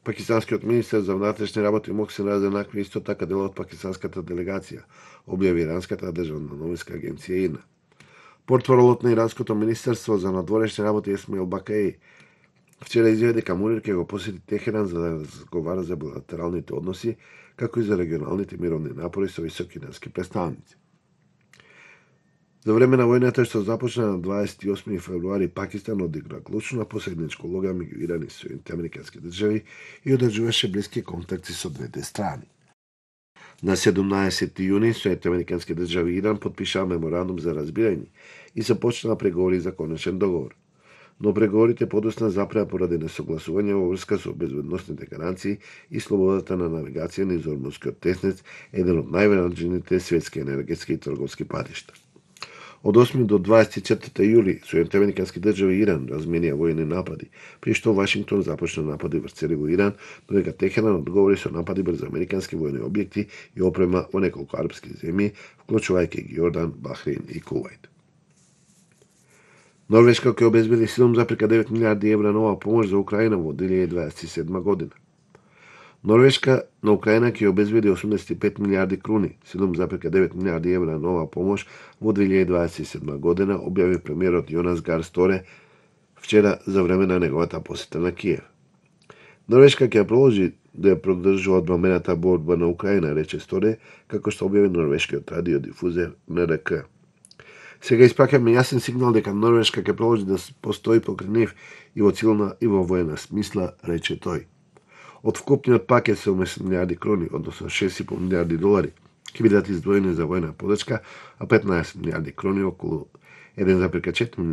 Пакистанскиот министер за внатрешни работи Мохсин Разенакви исто така дел од пакистанската делегација, објави иранската државна новинска агенција ИРНА. Портпаролот на иранското министерство за надворешни работи Есмаил Бакаи вчера изјави дека Мунир ќе го посети Техеран за да разговара за билатералните односи, како и за регионалните мировни напори со високи ирански представници. За време на војната што започна на 28 февруари, Пакистан одигра клучна посредничка улога меѓу Иран и Соединетите Американски држави и одржуваше блиски контакти со двете страни. На 17 јуни Соединетите Американски држави и Иран потпишаа меморандум за разбирање и започнаа преговори за конечен договор. Но преговорите подоцна запреа поради несогласување во врска со безбедносните гаранции и слободата на навигација низ Ормузскиот теснец, еден од најважните светски енергетски и трговски патишта. Од 8 до 24 јули Соединетите Американски држави и Иран разменија војни напади, при што Вашингтон започна напади врз цели во Иран, додека Техеран одговори со напади врз американски војни објекти и опрема во неколку арапски земји, вклучувајќи ги Јордан, Бахрейн и Кувајт. Норвешка ќе обезбеди 7,9 милиарди евра нова помош за Украина во 2027 година. Норвешка на Украина ќе обезбеди 85 милиарди круни, 7,9 милиарди евра нова помош во 2027 година, објави премиерот Јонас Гар Сторе вчера за време на неговата посета на Киев. Норвешка ќе продолжи да ја поддржува одбрамената борба на Украина, рече Сторе, како што објави норвешкиот радиодифузер НРК. Сега испраќаме јасен сигнал дека Норвешка ќе продолжи да постои покрај нив и во цивилна и во воена смисла, рече тој. Од вкупниот пакет 70 милиарди крони, односно 6,5 милиарди долари, ќе бидат издвоени за војна подршка, а 15 милиарди крони, околу 1,4 милиарди